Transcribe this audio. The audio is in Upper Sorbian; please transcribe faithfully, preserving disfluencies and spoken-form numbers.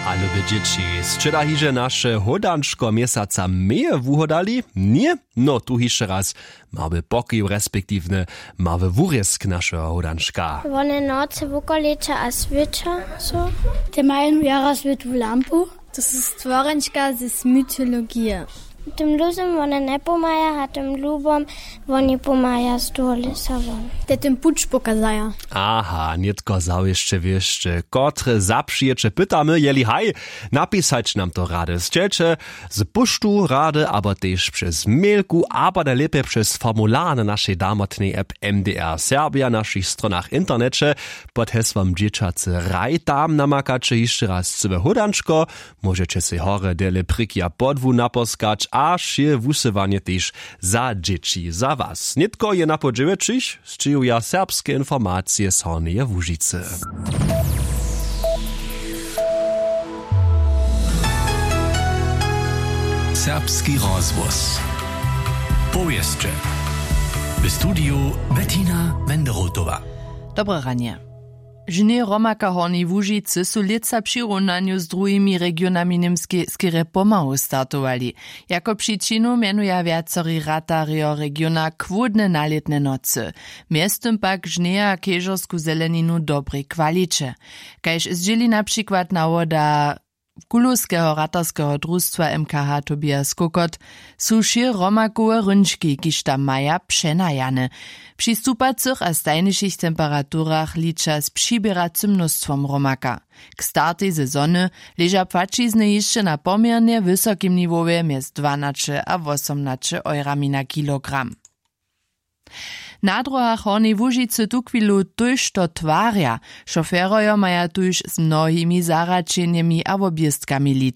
A lube dźěći, sće da hižo naše hódančko měsaca meje wuhodali? Ně? No tu hišće raz, małe poki respektiwnje, małe wurězk našeho hódančka. Wone nocy wukoleća a swěća so. Te mają jara swětłu lampu. To su stworenčka z mytologije. W tym luzym wone njepomaja a tym lubom woni pomaja z dołu lěsa won. Te tym puć pokazaja. Aha, nětko zawěsće wěsće, kotre zapřijeće pytamy jeli haj, napisać nam to rady sćelće, z puštu rady abo tež přez mailku abo najlěpje přez formular na našej damotnej app. M D R serbia našich stronach w interneće, pod hesłom dźěćacy raj tam namakaće hišće raz cyłe hódančko. Móžeće sej horje dele prěki a podłu naposkać a wšě wusyłanje tež za dźěći za was nětko je na po dźewjećich. Sćěhuja serbske informacije z hornjeje łužicy. Serbski rozhłos. Powěsće. W studiju Bettina Wenderotowa. Dobre ranje. Žnje hromaka w hornjej łužicy su lětsa w přirownanju z druhimi regionami němskej skerje pomału startowali. Jako přičinu mjenuja wjacori ratarjo regiona chłódne nalětne nocy. Mjeztym pak žnjeja kežersku zeleninu w dobrej kwaliće. Kaž zdźěli na přikład nawoda kulowskeho ratarskeho drustwa mkh tobias kokot, su wšě hromakowe hrónčki kiž tam maja přenajane. Při stupacych a stajnišich temperaturach liča z přiběracym mnóstwom hromaka. K startej sezony leža płaćizny hišće na poměrnje wysokim niwowje mjez dwanaće a wosomnaće eurami na kilogram. Na dróhach hornjej łužicy tuchwilu tójšto twarja. Šoferojo maja tuž z mnohimi zahraćenjemi a wobjěstkami.